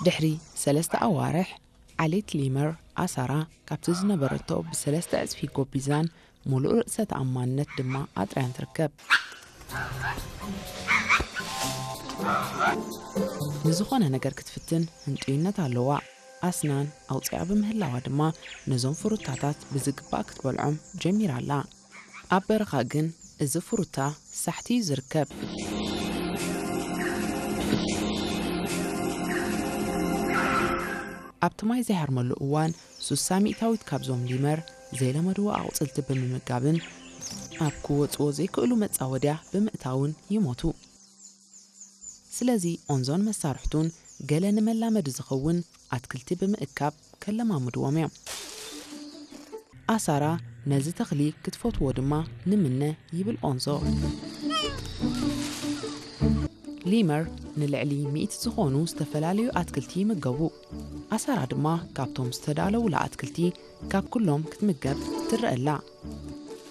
ድሕሪ ሰለስተ ኣዋርሕ፣ ዓሌት ሊመር ኣሳራ ካብቲ ዝነበረቶ ብሰለስተ ዕጽፊ ጎቢዛን፣ ሙሉእ ርእሰ ተኣማንነት ድማ ኣጥርያን ትርከብ። ንዝኾነ ነገር ክትፍትን ህንጡይነት ኣለዋ። ኣስናን ኣውፂኣ ብምህላዋ ድማ፣ ነዞም ፍሩታታት ብዝግባእ ክትበልዖም ጀሚራ ኣላ። ኣብ በረኻ ግን እዚ ፍሩታ ሳሕቲ እዩ ዝርከብ። ኣብቲ ማይ ዘይሃርመሉ እዋን፣ ሱሳ ሚእታዊት ካብዞም ሊመር ዘይለመድዎ ኣቑጽልቲ ብምምጋብን ኣብ ክወጽዎ ዘይክእሉ መጻወድያ ብምእታውን ይሞቱ። ስለዚ ኦንዞን መሳርሕቱን ገለ ንመላመዲ ዝኸውን ኣትክልቲ ብምእካብ ከለማምድዎም እዮም። ኣሳራ ነዚ ተኽሊ ክትፈትዎ ድማ ንምነ፣ ይብል ኦንዞ። ሊመር ንልዕሊ ሚእቲ ዝኾኑ ዝተፈላለዩ ኣትክልቲ ይምገቡ። ኣሳራ ድማ ካብቶም ዝተዳለዉላ ኣትክልቲ ካብ ኩሎም ክትምገብ ትረአ ኣላ።